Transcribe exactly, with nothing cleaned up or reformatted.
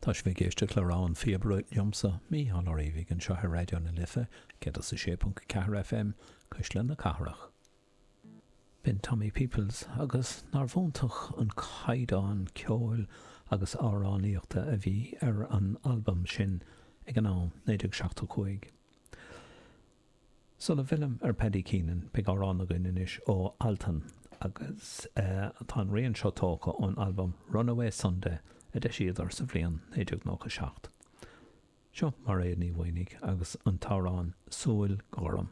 Tá sibh ag éisteacht le Rogha an Phíobaire liomsa, Mícheál Ó Riabhaigh, anseo ar Raidió na Life, céad is a sé ponc ceathair FM, Cuisle na Cathrach. B'in Tommy Peoples agus nárbh iontach an caighdeán ceoil agus amhránaíochta a bhí ar an albam sin ag an am, naoi déag seachtó cúig. Sula bhfillim ar Paddy Keenan, beidh amhrán againn anois ó Altan agus tá an rian seo tógtha ón albam Runaway Sunday a d'eisíodar sa bhliain naoi déag nócha seacht. Seo Mairéad Ní Mhaonaigh agus an t-amhrán Súil Ghorm.